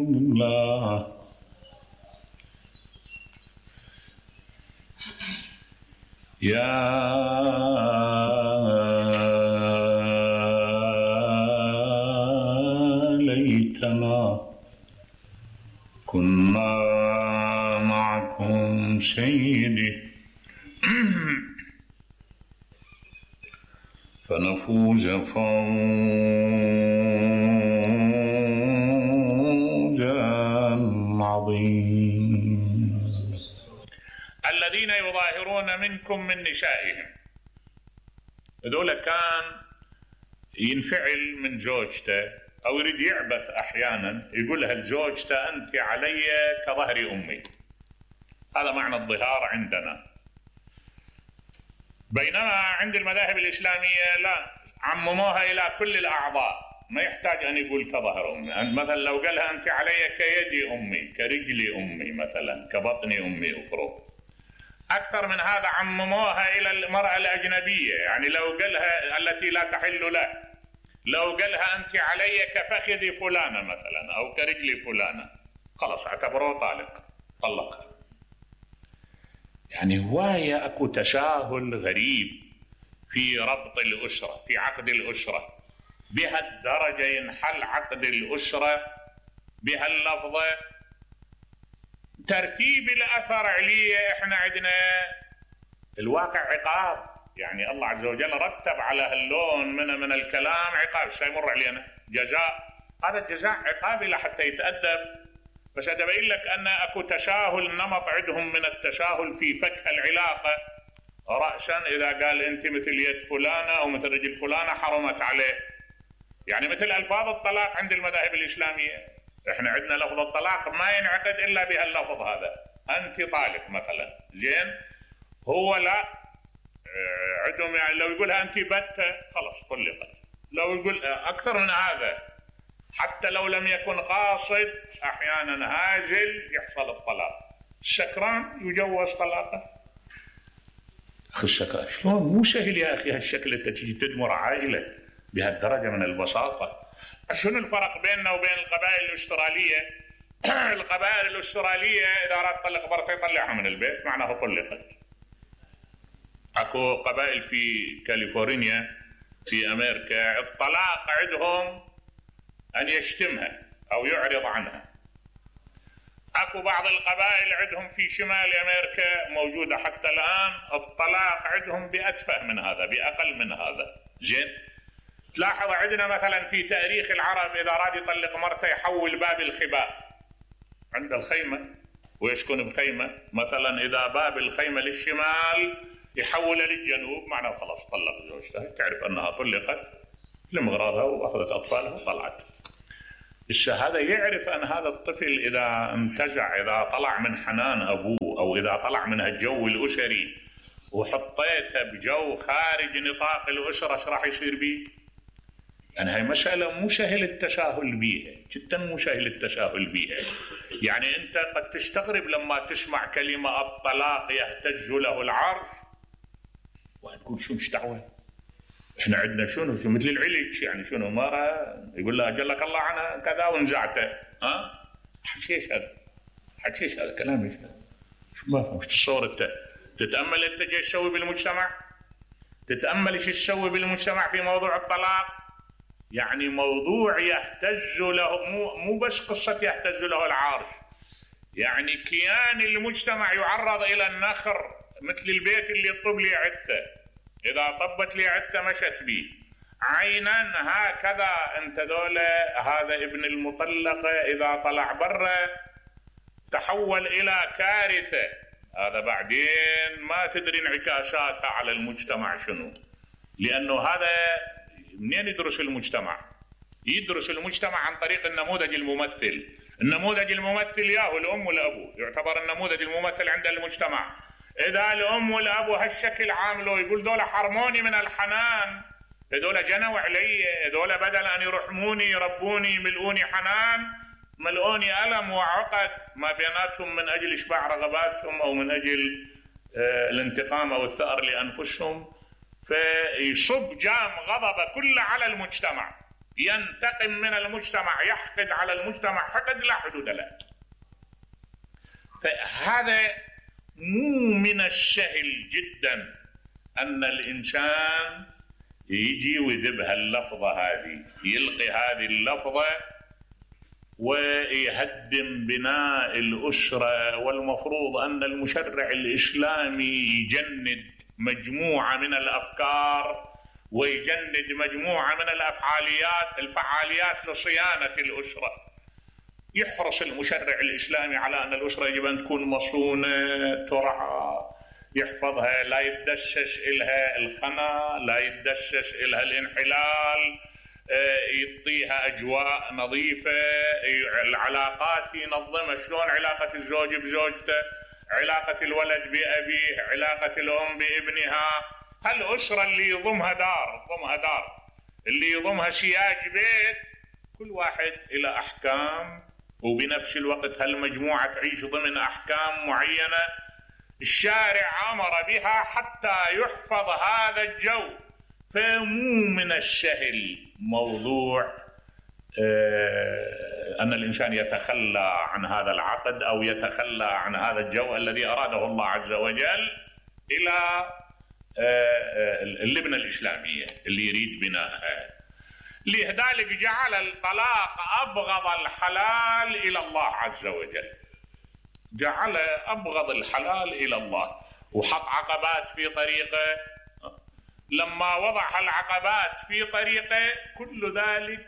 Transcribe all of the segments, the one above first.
الله. يا ليتنا كنا معكم سيدي فنفوز فوزا عظيما. الذين يظاهرون منكم من نسائهم، هذول كان ينفعل من زوجته أو يريد يعبث أحيانا، يقولها لزوجته أنت علي كظهر أمي. هذا معنى الظهار عندنا. بينما عند المذاهب الإسلامية لا، عمموها إلى كل الأعضاء، ما يحتاج أن يقول كظهر أمي. مثلا لو قالها أنت علي كيدي أمي، كرجلي أمي، مثلا كبطني أمي أفرض. أكثر من هذا عمموها إلى المرأة الأجنبية، يعني لو قالها التي لا تحل له، لو قالها أنت علي كفخذ فلانة مثلا أو كرجل فلانة، خلاص اعتبروه طلقها. يعني هواية أكو تساهل غريب في ربط الأسرة، في عقد الأسرة، بهالدرجة ينحل عقد الأسرة بهاللفظة. ترتيب الأثر عليه احنا عندنا الواقع عقاب، يعني الله عز وجل رتب على هاللون من الكلام عقاب، سيمر علينا جزاء، هذا الجزاء عقاب لحتى يتأدب. بس أبين لك أن أكو تساهل، نمط عندهم من التساهل في فك العلاقة رأسا، إذا قال أنت مثل يد فلانة أو مثل رجل فلانة حرمت عليه. يعني مثل ألفاظ الطلاق عند المذاهب الإسلامية، إحنا عندنا لفظ الطلاق ما ينعقد إلا بهاللفظ هذا، أنت طالق مثلا، زين. هو لا، عندهم يعني لو يقولها أنت بتة خلاص طلقت. لو يقول أكثر من هذا، حتى لو لم يكن قاصد أحيانا هازل يحصل الطلاق. السكران يجوز طلاقه. أخي السكران شلون مو سهل يا أخي هالشكل أنت تجي تدمر عائلة بهالدرجة من البساطة. شنو الفرق بيننا وبين القبائل الأسترالية؟ القبائل الأسترالية إذا أراد تطلق مرته يطلعها من البيت، معناه طلقت. أكو قبائل في كاليفورنيا في أمريكا الطلاق عندهم أن يشتمها أو يعرض عنها. أكو بعض القبائل عندهم في شمال أمريكا موجودة حتى الآن الطلاق عندهم بأتفه من هذا، بأقل من هذا، زين. تلاحظ عندنا مثلا في تاريخ العرب إذا أراد يطلق مرته يحول باب الخباء عند الخيمة ويسكن بخيمة، مثلا إذا باب الخيمة للشمال يحول للجنوب، معناه خلاص طلق زوجته، تعرف أنها طلقت لمغراضها وأخذت أطفالها وطلعت. هذا يعرف أن هذا الطفل إذا انتزع، إذا طلع من حنان أبوه أو إذا طلع من الجو الأسري وحطيته بجو خارج نطاق الأسرة ايش راح يصير به؟ يعني هاي مسألة مو سهل التساهل بيها، جدا مو سهل التساهل بيها. يعني أنت قد تستغرب لما تسمع كلمة الطلاق يهتز له العرش وتقول شو مش دعوة؟ احنا عندنا شنو مثل العلج، يعني شنو مرة يقول لها أجلك الله عنها كذا ونزعته، حكيش هذا كلام ايش هذا؟ شو ما فهمت الصورة. انت تتأمل انت جاي تسوي بالمجتمع، تتأمل ايش تسوي بالمجتمع في موضوع الطلاق. يعني موضوع يهتز له، مو بس قصة يهتز له العرش، يعني كيان المجتمع يعرض إلى النخر، مثل البيت اللي طب لي عدته، إذا طبت لي عدته مشت بي عينا هكذا. انت دولة هذا ابن المطلقة إذا طلع برا تحول إلى كارثة، هذا بعدين ما تدري انعكاساتها على المجتمع شنو. لأنه هذا منين يدرس المجتمع؟ يدرس المجتمع عن طريق النموذج الممثل. النموذج الممثل ياهو الأم والأبو، يعتبر النموذج الممثل عند المجتمع. إذا الأم والأبو هالشكل عاملوا يقول دول حرموني من الحنان، هذول جنوا علي، هذول بدل أن يرحموني يربوني ملؤوني حنان، ملؤوني ألم وعقد ما بيناتهم من أجل إشباع رغباتهم أو من أجل الانتقام أو الثأر لأنفسهم. فيصب جام غضب كله على المجتمع. ينتقم من المجتمع، يحقد على المجتمع حقد لا حدود له. فهذا مو من السهل جدا أن الإنسان يجي ويذب هاللفظة هذه، يلقي هذه اللفظة ويهدم بناء الأسرة. والمفروض أن المشرع الإسلامي يجند مجموعة من الأفكار ويجند مجموعة من الفعاليات لصيانة الأسرة. يحرص المشرع الإسلامي على أن الأسرة يجب أن تكون مصونة، ترعى، يحفظها، لا يتدسس إلها الخنا، لا يتدسس إلها الانحلال، يعطيها أجواء نظيفة، العلاقات ينظمها. شلون علاقة الزوج بزوجته، علاقة الولد بأبيه، علاقة الأم بابنها. هالأسرة اللي يضمها دار، اللي يضمها سياج بيت، كل واحد إلى أحكام، وبنفس الوقت هالمجموعة تعيش ضمن أحكام معينة الشارع أمر بها حتى يحفظ هذا الجو. فمو من السهل موضوع أن الإنسان يتخلى عن هذا العقد أو يتخلى عن هذا الجو الذي أراده الله عز وجل إلى اللبنة الإسلامية اللي يريد بنائها. لذلك جعل الطلاق أبغض الحلال إلى الله عز وجل، جعل أبغض الحلال إلى الله، وحط عقبات في طريقه. لما وضع العقبات في طريقه كل ذلك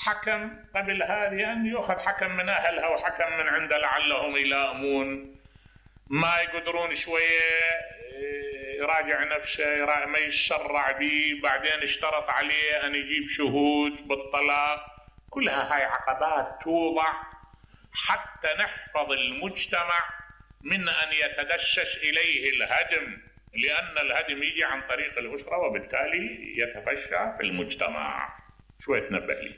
حكم قبل هذه أن يأخذ حكم من أهلها وحكم من عنده لعلهم يلائمون، ما يقدرون شوية يراجع نفسه، ما يتسرع به، بعدين اشترط عليه أن يجيب شهود بالطلاق. كلها هاي عقبات توضع حتى نحفظ المجتمع من أن يتدسس إليه الهدم، لأن الهدم يجي عن طريق الأسرة وبالتالي يتفشى في المجتمع. شوية تنبه لي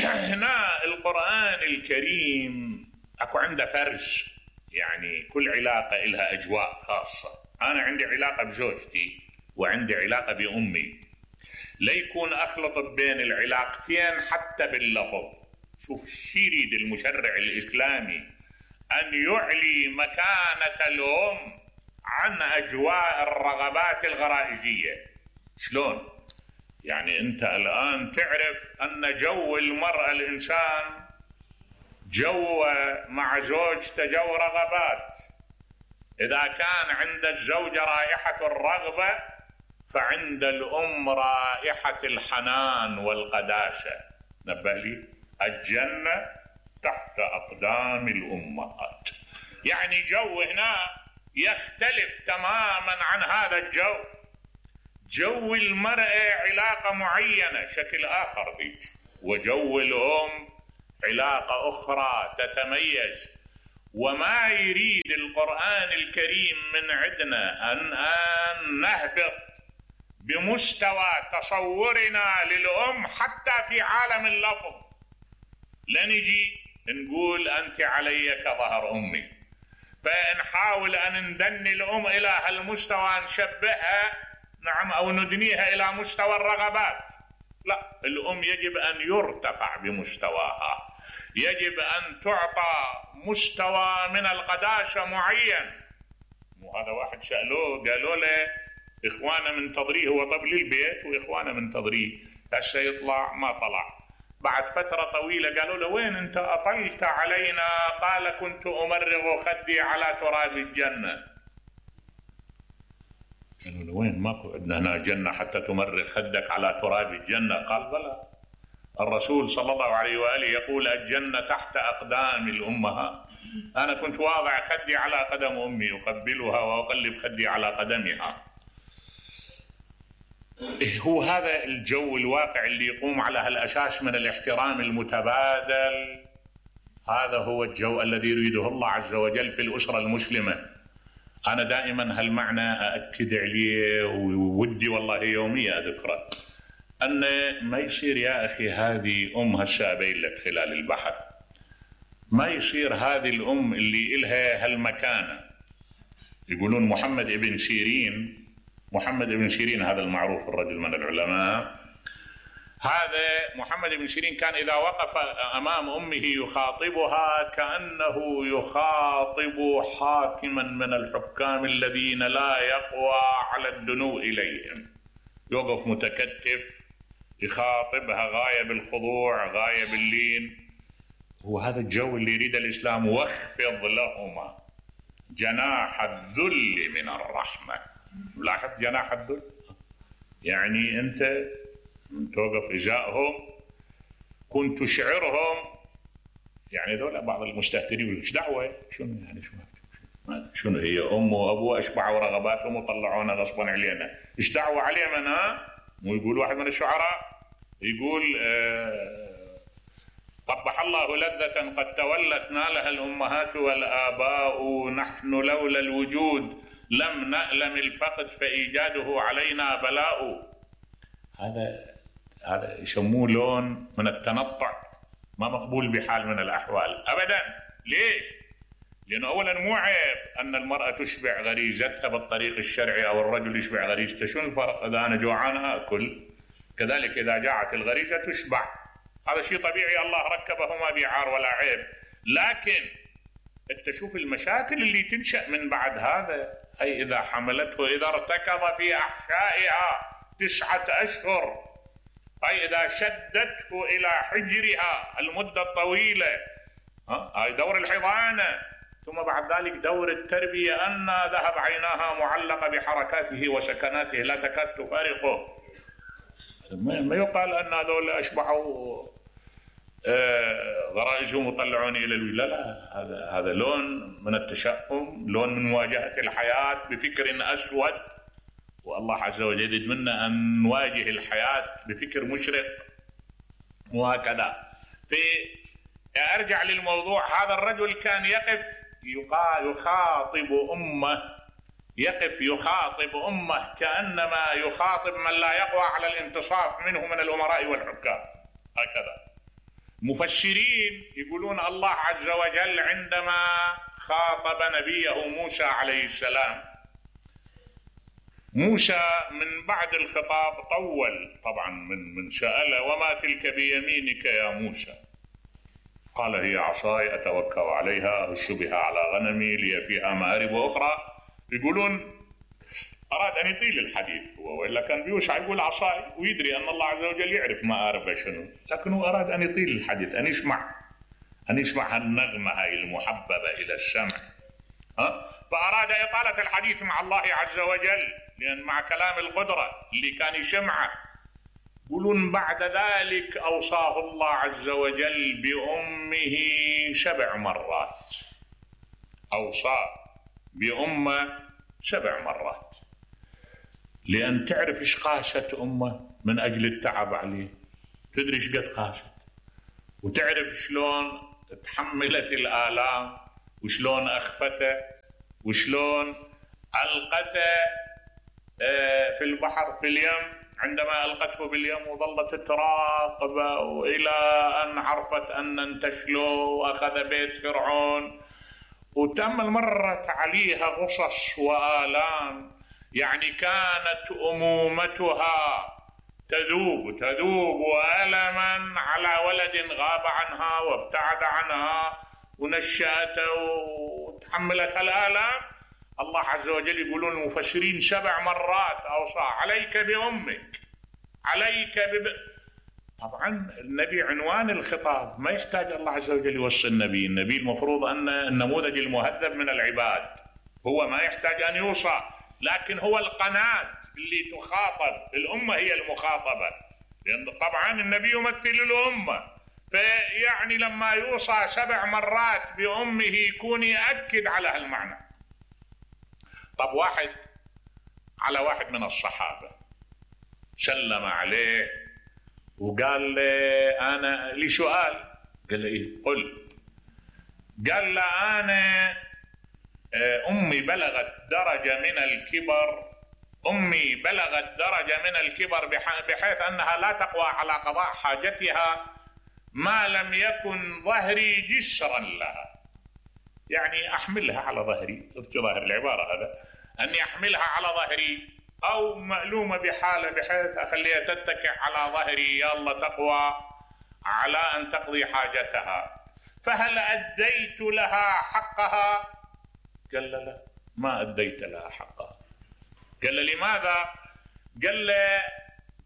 هنا القرآن الكريم أكو عنده فرز، يعني كل علاقة إلها أجواء خاصة. أنا عندي علاقة بزوجتي وعندي علاقة بأمي، ليكون أخلط بين العلاقتين حتى باللفظ. شوف شو يريد المشرع الإسلامي، أن يعلي مكانة الأم عن أجواء الرغبات الغرائزية. شلون؟ يعني أنت الآن تعرف أن جو المرأة الإنسان جو مع زوجته جو رغبات. إذا كان عند الزوجة رائحة الرغبة فعند الأم رائحة الحنان والقداسة. نبه لي، الجنة تحت أقدام الأمهات. يعني جو هنا يختلف تماما عن هذا الجو. جو المرأة علاقة معينة شكل آخر ذيك، وجو الأم علاقة أخرى تتميز. وما يريد القرآن الكريم من عندنا أن نهبط بمستوى تصورنا للأم حتى في عالم اللفظ، لنجي نقول أنت علي كظهر أمي، فنحاول أن ندني الأم إلى هالمستوى، نشبهها نعم أو ندنيها إلى مستوى الرغبات. لا، الأم يجب أن يرتفع بمستواها، يجب أن تعطى مستوى من القداسة معين. وهذا واحد سألوه قالوا له إخوانا منتظريه، هو طب للبيت وإخوانا منتظريه، هسه يطلع ما طلع. بعد فترة طويلة قالوا له وين أنت أطلت علينا؟ قال كنت أمرغ خدي على تراب الجنة. قالوا له وين؟ ماكو عندنا هنا جنة حتى تمرغ خدك على تراب الجنة. قال بلى، الرسول صلى الله عليه وآله يقول الجنة تحت أقدام الأمهات. أنا كنت واضع خدي على قدم أمي أقبلها وأقلب خدي على قدمها. هو هذا الجو الواقع اللي يقوم على هالأساس من الاحترام المتبادل. هذا هو الجو الذي يريده الله عز وجل في الأسرة المسلمة. أنا دائما هالمعنى أأكد عليه، وودي والله يوميا أذكره، أن ما يصير يا أخي هذه أم هالشابين لك خلال البحث، ما يصير هذه الأم اللي إلها هالمكانة. يقولون محمد ابن سيرين هذا المعروف الرجل من العلماء، هذا محمد بن سيرين كان إذا وقف أمام أمه يخاطبها كأنه يخاطب حاكما من الحكام الذين لا يقوى على الدنو إليهم، يوقف متكتف يخاطبها غاية بالخضوع غاية باللين. وهذا الجو اللي يريد الإسلام. واخفض لهما جناح الذل من الرحمة. لاحظ جناح الذل، يعني أنت توقف إزاءهم، كنت تشعرهم. يعني ذولا بعض المستهترين ايش دعوة، شنو يعني شنو هي أم وأبو أشبعوا رغباتهم وطلعونا غصبا علينا، ايش دعوة علينا؟ مو يقول واحد من الشعراء يقول قبح الله لذة قد تولت نالها الأمهات والآباء، نحن لولا الوجود لم نألم الفقد فإيجاده علينا بلاء. هذا يسموه لون من التنطع ما مقبول بحال من الأحوال أبدا. ليش؟ لأنه أولا مو عيب أن المرأة تشبع غريزتها بالطريق الشرعي أو الرجل يشبع غريزته. شنو الفرق؟ إذا أنا جوعان آكل، كذلك إذا جاعت الغريزة تشبع، هذا شيء طبيعي الله ركبه ما بعار ولا عيب. لكن أنت شوف المشاكل اللي تنشأ من بعد هذا. أي إذا حملته، إذا ارتكض في أحشائها 9 أشهر، أي إذا شدته إلى حجرها المدة الطويلة، هاي دور الحضانة، ثم بعد ذلك دور التربية، أن ذهب عيناها معلقة بحركاته وسكناته لا تكاد تفارقه. ما يقال أن هذول أشبعوا غرائزهم وطلعوني إلى لا لا، هذا لون من التشأم، لون من مواجهة الحياة بفكر أسود. والله عز وجل يريد منا أن نواجه الحياة بفكر مشرق وهكذا. أرجع للموضوع. هذا الرجل كان يقف يخاطب أمه كأنما يخاطب من لا يقوى على الانتصاف منه من الأمراء والحكام. هكذا مفسرين يقولون الله عز وجل عندما خاطب نبيه موسى عليه السلام، موسى من بعد الخطاب طول طبعا، من سأله وما تلك بيمينك يا موسى؟ قال هي عصاي أتوكأ عليها أهش بها على غنمي لي فيها مآرب أخرى. يقولون أراد أن يطيل الحديث هو، وإلا كان بيوسع يقول عصاي ويدري أن الله عز وجل يعرف مآربه شنو، لكنه أراد أن يطيل الحديث، أن يسمع هالنغمة هاي المحببة إلى السمع. فأراد إطالة الحديث مع الله عز وجل، لأن مع كلام القدرة اللي كان يسمعه. يقولون بعد ذلك أوصاه الله عز وجل بأمه 7 مرات، أوصاه بأمه 7 مرات، لأن تعرف إيش قاست أمه من أجل التعب عليه، تدري إيش قد قاست، وتعرف شلون تحملت الآلام، وشلون أخفته، وشلون ألقته في البحر في اليم. عندما ألقته باليم وظلت تراقبه وإلى أن عرفت أن انتشله وأخذ بيت فرعون، وتأمل مرت عليها غصص وآلام. يعني كانت أمومتها تذوب ألما على ولد غاب عنها وابتعد عنها ونشأته وتحملت الآلام. الله عز وجل يقولون المفسرين 7 مرات أوصى عليك بأمك، عليك طبعا النبي عنوان الخطاب، ما يحتاج الله عز وجل يوصي النبي المفروض أن النموذج المهذب من العباد، هو ما يحتاج أن يوصى، لكن هو القناة اللي تخاطب. الأمة هي المخاطبة، لأن طبعا النبي يمثل الأمة، فيعني لما يوصى 7 مرات بأمه يكون يأكد على هالمعنى. طب واحد من الصحابة سلم عليه وقال له أنا لي سؤال. قال له إيه؟ قل. قال له أنا أمي بلغت درجة من الكبر بحيث أنها لا تقوى على قضاء حاجتها ما لم يكن ظهري جسرا لها. يعني أحملها على ظهري، في ظاهر العبارة هذا، أني أحملها على ظهري أو مألومة بحالة بحيث أخليها تتكئ على ظهري يلا تقوى على أن تقضي حاجتها، فهل أديت لها حقها؟ قال لا ما أديت لها حقها. قال لماذا؟ قال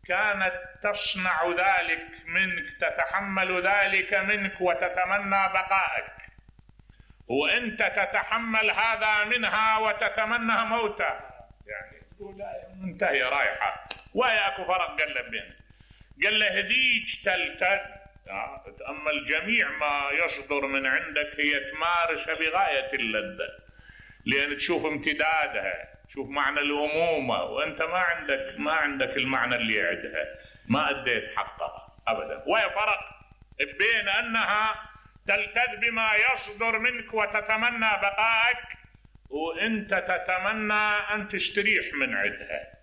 كانت تصنع ذلك منك، تتحمل ذلك منك وتتمنى بقائك، وأنت تتحمل هذا منها وتتمنى موتها، يعني منتهية رايحة، وهي أكو فرق. قال له بينك، قال له هديك تلتد، تأمل جميع ما يصدر من عندك هي تمارسها بغاية اللذة، لأن تشوف امتدادها، تشوف معنى الأمومة، وأنت ما عندك المعنى اللي عندها، ما أديت حقها أبدا. وهي فرق بين أنها تلتذ بما يصدر منك وتتمنى بقائك، وأنت تتمنى أن تستريح من عندها،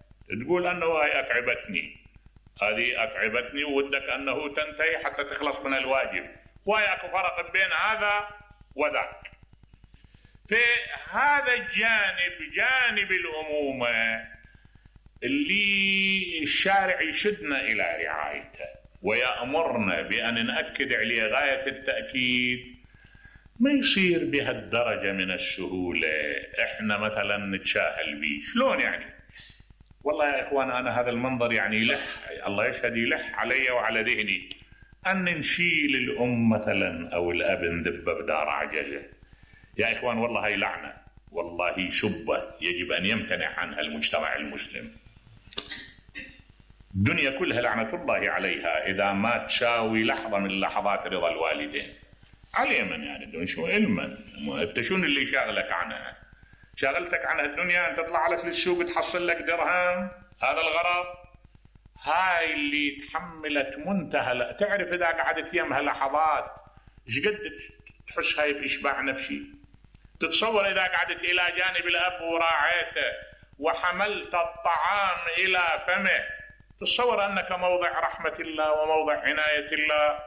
تقول أنه هاي أتعبتني، هذه أتعبتني وودك أنه تنتهي حتى تخلص من الواجب. وهي أكو فرق بين هذا وذاك. في هذا الجانب، جانب الأمومة، اللي الشارع يشدنا إلى رعايته ويأمرنا بأن نأكد عليه غاية التأكيد، ما يصير بهالدرجة من السهولة احنا مثلا نتشاهل به. شلون يعني؟ والله يا إخوان أنا هذا المنظر يعني يلح، الله يشهد يلح علي وعلى ذهني، أن نشيل الأم مثلا أو الأب ندبه بدار عجزة. يا إخوان والله هي لعنة، والله شبه يجب أن يمتنع عنها المجتمع المسلم. الدنيا كلها لعنة الله عليها إذا ما تشاوي لحظة من لحظات رضا الوالدين. على من يعني الدنيا شو علما؟ أنت شو اللي شاغلك عنها؟ شاغلتك عنها الدنيا أن تطلع لك للسوق تحصل لك درهم، هذا الغرض؟ هاي اللي تحملت منتهى. تعرف إذا قعدت يمها لحظات ايش قد تحس هاي بإشباع نفسي؟ تتصور إذا قعدت إلى جانب الأب وراعيته وحملت الطعام إلى فمه، تتصور أنك موضع رحمة الله وموضع عناية الله.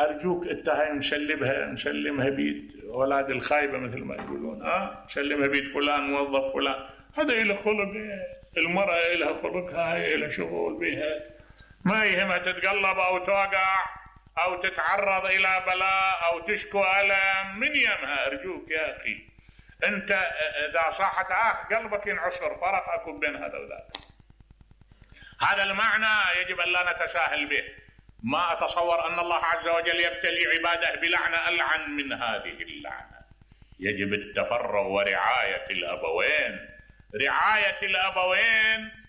أرجوك أنت هاي مسلمها بيد أولاد الخايبة مثل ما يقولون، مسلمها بيد فلان موظف فلان، هذا إله خلق، المرأة إلها خلقها، هاي إلها شغل بها، ما يهمها تتقلب أو توقع أو تتعرض إلى بلاء أو تشكو ألم من يمها. أرجوك يا أخي أنت إذا صاحت قلبك ينعصر، فرق أكون بين هذا وذاك. هذا المعنى يجب أن لا نتساهل به. ما أتصور أن الله عز وجل يبتلي عباده بلعنة ألعن من هذه اللعنة. يجب التفرغ ورعاية الأبوين، رعاية الأبوين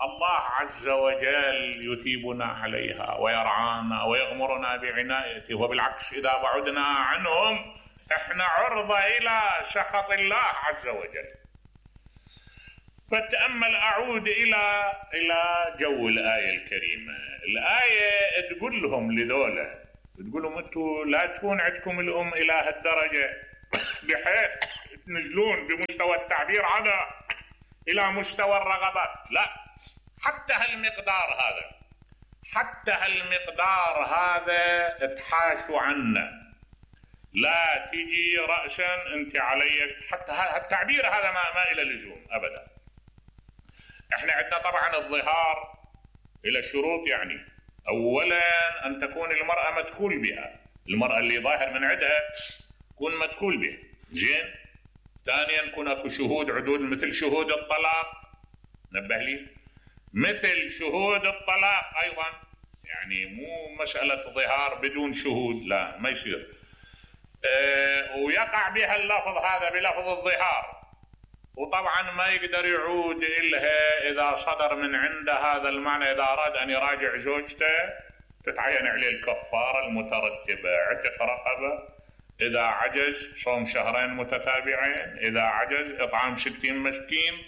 الله عز وجل يثيبنا عليها ويرعانا ويغمرنا بعنايته، وبالعكس إذا بعدنا عنهم احنا عرضة إلى سخط الله عز وجل. فتأمل، أعود إلى جو الآية الكريمة. الآية تقول لهم لذولا، تقول لهم أنتوا لا تكون عندكم الأم إلى هالدرجة بحيث تنزلون بمستوى التعبير عنها إلى مستوى الرغبات، لا، حتى هالمقدار هذا اتحاشوا عنا، لا تجي رأسا أنت علي. حتى التعبير هذا ما إلى لزوم أبدا. احنا عندنا طبعا الظهار إلى شروط، يعني أولا أن تكون المرأة مدخول بها، المرأة اللي ظاهر من عندها تكون مدخول بها، زين. ثانيا يكون اكو شهود عدول مثل شهود الطلاق، نبه لي، مثل شهود الطلاق أيضا، يعني مو مسألة ظهار بدون شهود، لا ما يصير. ويقع بها اللفظ هذا بلفظ الظهار، وطبعا ما يقدر يعود إلها إذا صدر من عنده هذا المعنى. إذا أراد أن يراجع زوجته تتعين عليه الكفارة المترتبة، عتق رقبة، إذا عجز صوم شهرين متتابعين، إذا عجز إطعام 60 مسكين.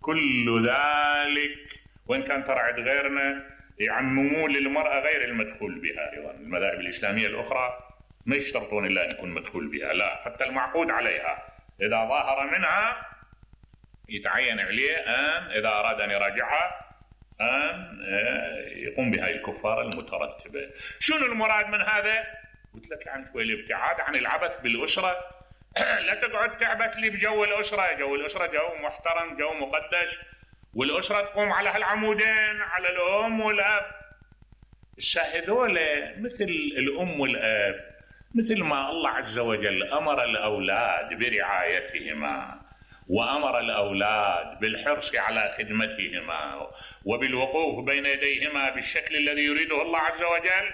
كل ذلك وإن كان ترى عند غيرنا يعممون للمرأة غير المدخول بها. أيضا المذاهب الإسلامية الأخرى ما يشترطون إلا أن يكون مدخول بها، لا، حتى المعقود عليها إذا ظاهر منها يتعين عليه أن إذا أراد أن يراجعها أن يقوم بهذه الكفارة المترتبة. شنو المراد من هذا؟ قلت لك عن شوي الابتعاد عن العبث بالأسرة. لا تقعد تعبث لي بجو الأسرة. جو الأسرة جو محترم، جو مقدس، والأسرة تقوم على هالعمودين، على الأم والأب. هذول مثل الأم والأب، مثل ما الله عز وجل أمر الأولاد برعايتهما وأمر الأولاد بالحرص على خدمتهما وبالوقوف بين يديهما بالشكل الذي يريده الله عز وجل،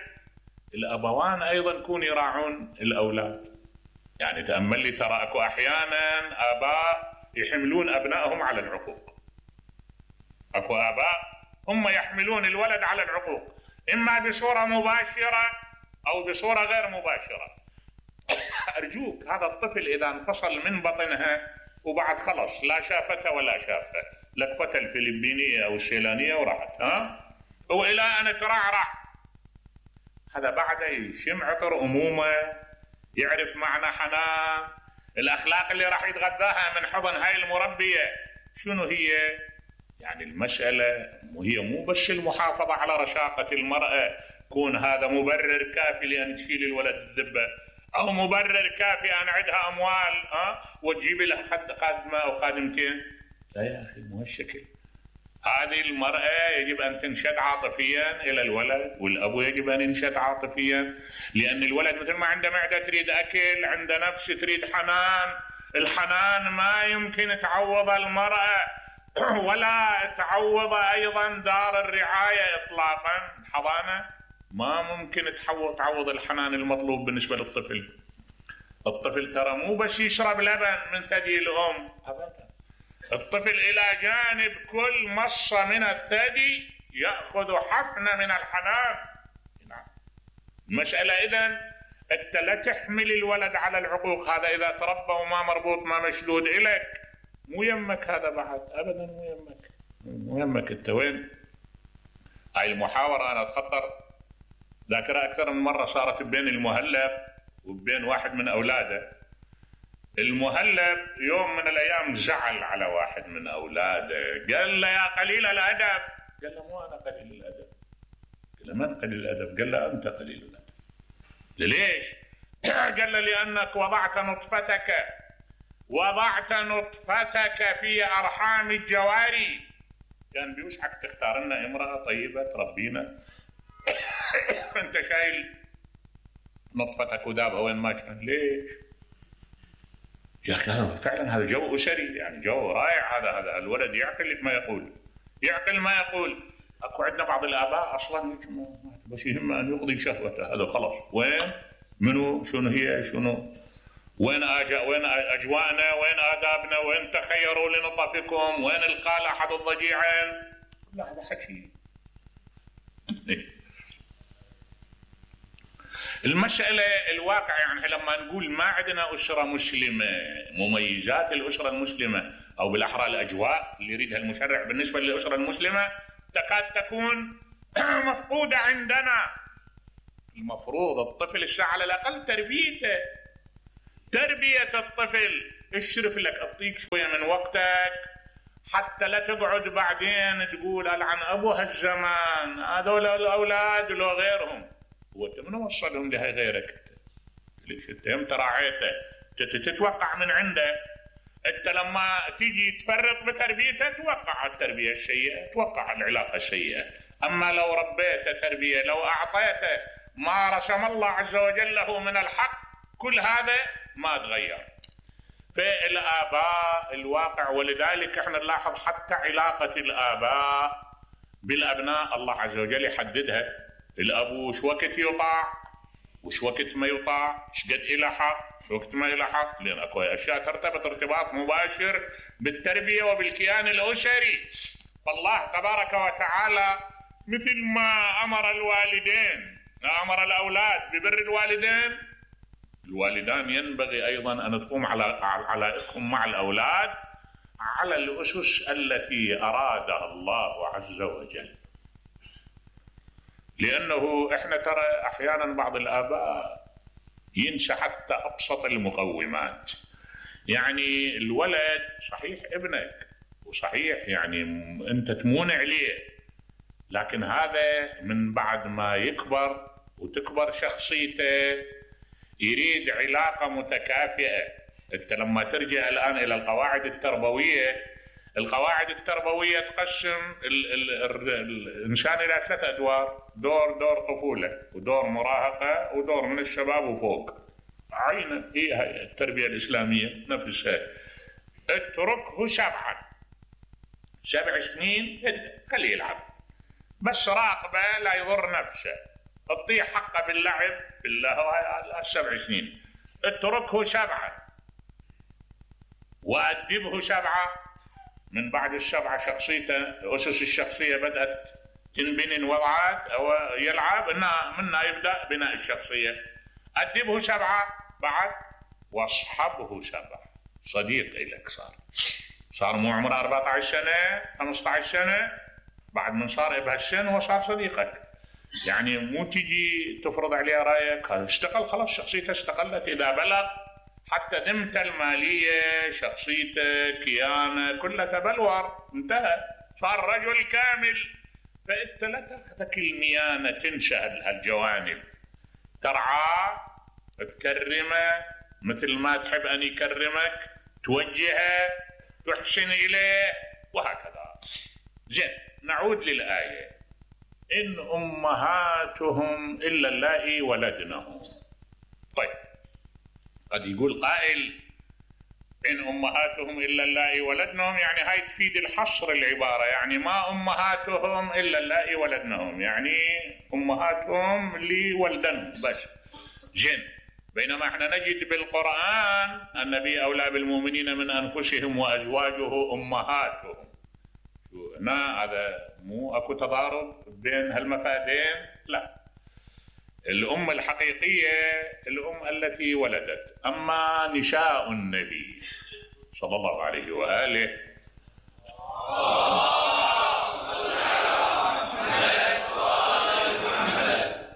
الأبوان أيضا يكون يراعون الأولاد. يعني تأمل لي، ترى أكو أحيانا آباء يحملون أبنائهم على العقوق. أكو آباء هم يحملون الولد على العقوق، إما بصورة مباشرة أو بصورة غير مباشرة. أرجوك، هذا الطفل إذا انفصل من بطنها وبعد خلص لا شافته ولا شافه، لكفتها الفلبينية أو السيلانية وراحت، وإلى أن ترعرع، هذا بعد يشم عطر أمومة، يعرف معنى حنان، الأخلاق اللي راح يتغذاها من حضن هاي المربية شنو هي. يعني المسألة هي مو بس المحافظة على رشاقة المرأة، كون هذا مبرر كافي لأن تشيل الولد الذبة، أو مبرر كافي أن عندها أموال وتجيب لها خادمة أو خادمتين. لا يا أخي، مو هالشكل. هذه المرأة يجب أن تنشد عاطفيا إلى الولد، والأبو يجب أن ينشد عاطفيا، لأن الولد مثل ما عنده معدة تريد أكل، عنده نفس تريد حنان. الحنان ما يمكن تعوض المرأة ولا تعوض أيضا دار الرعاية إطلاقا. الحضانة ما ممكن تعوض الحنان المطلوب بالنسبة للطفل. الطفل ترى مو بس يشرب لبن من ثدي الأم أبدا، الطفل إلى جانب كل مصة من الثدي يأخذ حفنة من الحنان. المسألة إذن أنت لا تحمل الولد على العقوق. هذا إذا تربى وما مربوط ما مشدود إليك مو يمك، هذا بعد أبدا مو يمك. أنت وين؟ هاي المحاورة أنا أتخطر ذاكرة أكثر من مرة صارت بين المهلب وبين واحد من أولاده. المهلب يوم من الأيام زعل على واحد من أولاده، قال له يا قليل الأدب. قال له مو أنا قليل الأدب. قال له من قليل الأدب؟ قال له أنت قليل الأدب. ليش؟ قال له لأنك وضعت نطفتك في أرحام الجواري. كان بيوشحك تختار لنا امرأة طيبة تربينا أنت شايل نطفتك ودابها وين ما كان. ليش؟ يا أخي فعلا هذا جو أسري، يعني جو رائع. هذا الولد يعقل ما يقول. أكو عندنا بعض الآباء أصلا بس يهم أن يقضي شهوته، هذا خلاص. وين؟ منو؟ شنو هي؟ شنو؟ وين أجواءنا؟ وين آدابنا؟ وين تخيروا لنطفكم؟ وين الخال أحد الضجيعين؟ لا، هذا حكي. المسألة الواقع، يعني لما نقول ما عندنا أسرة مسلمة، مميزات الأسرة المسلمة أو بالأحرى الأجواء اللي يريدها المشرع بالنسبة للأسرة المسلمة تكاد تكون مفقودة عندنا. المفروض الطفل الساعة على الأقل تربية الطفل، اشرف لك، اعطيك شوية من وقتك حتى لا تقعد بعدين تقول ألعن أبو هالزمان، هذول الأولاد لو غيرهم. وانت من وصلهم لها غيرك؟ ليش انت يمتى راعيته؟ تتوقع من عنده. انت لما تيجي تفرط بتربيته توقع التربية السيئة، توقع العلاقة السيئة. اما لو ربيته تربية، لو اعطيته ما رسم الله عز وجل له من الحق، كل هذا ما تغير. فالآباء الواقع، ولذلك احنا نلاحظ حتى علاقة الآباء بالأبناء الله عز وجل يحددها. الأبو وش وقت يطاع وش وقت ما يطاع، ايش قد إلى حق وش وقت ما إلى حق، لأن أكو أشياء ترتبط ارتباط مباشر بالتربية وبالكيان الأسري. فالله تبارك وتعالى مثل ما أمر أمر الأولاد ببر الوالدين، الوالدان ينبغي أيضا أن تقوم على علائقهم مع الأولاد على الأسس التي أرادها الله عز وجل. لأنه إحنا ترى أحيانا بعض الآباء ينسى حتى أبسط المقومات. يعني الولد صحيح ابنك وصحيح يعني أنت تمون عليه، لكن هذا من بعد ما يكبر وتكبر شخصيته يريد علاقة متكافئة. أنت لما ترجع الآن إلى القواعد التربوية القواعد التربوية تقسم الإنسان إلى 3 أدوار: دور طفولة، ودور مراهقة، ودور من الشباب وفوق. عين هي التربية الإسلامية نفسها. اتركه 7 سنين خليه يلعب، بس راقبه لا يضر نفسه، اعطيه حقه باللعب بالله 7 سنين. اتركه 7 وأدبه 7. من بعد ال7 شخصيته، أسس الشخصية بدأت تنبني، وضعت أو يلعب منها يبدأ بناء الشخصية. أدبه 7 بعد، واصحبه 7. صديق إليك صار مو عمره 14 سنة 15 سنة، بعد من صار بهالسن وصار صديقك. يعني مو تجي تفرض عليه رأيك، اشتغل خلاص شخصيته استقلت. إذا بلغ حتى ذمته المالية، شخصيته، كيانه، كلها تبلور، انتهى، صار رجل كامل. فأنت لا تاخذك الميانة، تنسى هالجوانب، ترعاه، تكرمه مثل ما تحب أن يكرمك، توجهه، تحسن إليه، وهكذا. زين، نعود للآية: إن أمهاتهم إلا اللائي ولدنهم. طيب، قد يقول قائل: إن أمهاتهم إلا اللائي ولدنهم، يعني هاي تفيد الحصر العبارة، يعني ما أمهاتهم إلا اللائي ولدنهم، يعني أمهاتهم اللي ولدنهم بس. جن، بينما احنا نجد بالقرآن النبي أولى بالمؤمنين من أنفسهم وأزواجه أمهاتهم. هذا مو أكو تضارب بين هالمفادين، لا. الأم الحقيقية الأم التي ولدت. أما نساء النبي صلى الله عليه وآله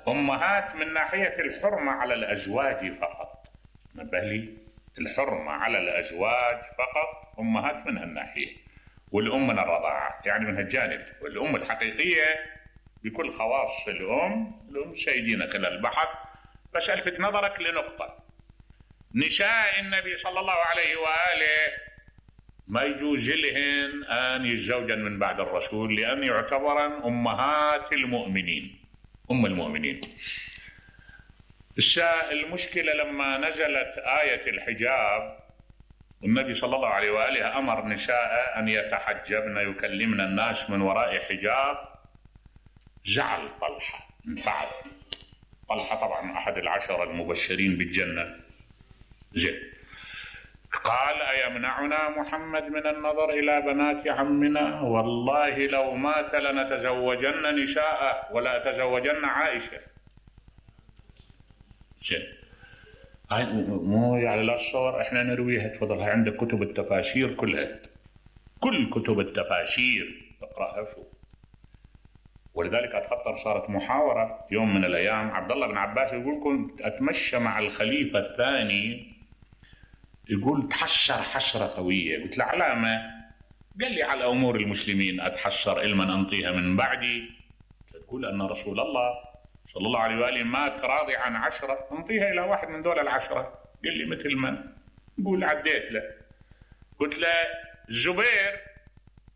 أمهات من ناحية الحرمة على الأزواج فقط. نبه لي، الحرمة على الأزواج فقط، أمهات من هالناحية، والأم من الرضاعة، يعني من هالجانب. والأم الحقيقية بكل خواص الأم سيدينا كل البحر. بس ألفت نظرك لنقطة: نساء النبي صلى الله عليه وآله ما يجوز لهن أن يتزوجن من بعد الرسول، لأن يعتبرن أمهات المؤمنين، أم المؤمنين. المشكلة لما نزلت آية الحجاب، النبي صلى الله عليه وآله أمر نساء أن يتحجبن، يكلمن الناس من وراء حجاب. زعل طلحة، انفعل. طلحة طبعا أحد ال10 المبشرين بالجنة. زين، قال: أيمنعنا محمد من النظر إلى بنات عمنا؟ والله لو مات لنتزوجن نساءه ولا تزوجن عائشة. زين، هاي مو يعني لا الصور احنا نرويها، تفضلها عندك كتب التفاسير كلها، كل كتب التفاسير اقرأها وشوف. ولذلك أتخطر صارت محاورة يوم من الأيام، عبد الله بن عباس يقول: كنت أتمشى مع الخليفة الثاني، يقول تحسر حسرة قوية. قلت له: علامة؟ قال لي: على أمور المسلمين أتحسر إلما أنطيها من بعدي. تقول أن رسول الله صلى الله عليه وآله مات راضي عن 10، أنطيها إلى واحد من دول ال10. قال لي: مثل من؟ يقول: عديت له. قلت له: الزبير.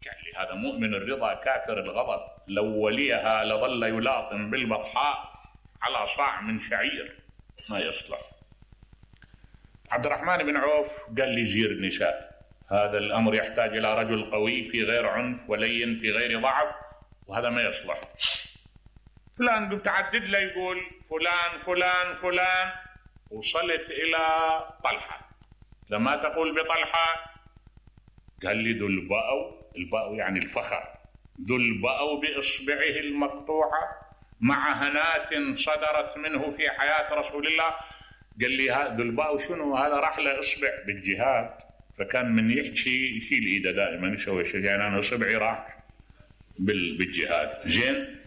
قال لي: هذا مؤمن الرضا كافر الغضب، لو وليها لظل يلاطم بالبطحاء على صاع من شعير، ما يصلح. عبد الرحمن بن عوف قال لي: زير النساء، هذا الأمر يحتاج إلى رجل قوي في غير عنف، ولين في غير ضعف، وهذا ما يصلح. فلان قلت عدد له، يقول فلان فلان فلان. وصلت إلى طلحة. لما تقول بطلحة؟ قال لي: ذو الباء يعني الفخر، ذو الباء بإصبعه المقطوعة مع هنات صدرت منه في حياة رسول الله. قال لي: ذو الباء شنو؟ هذا راح له إصبع بالجهاد، فكان من يحكي يشيل إيده دائما، يسوي شيء، يعني أنا إصبعي راح بالجهاد. زين،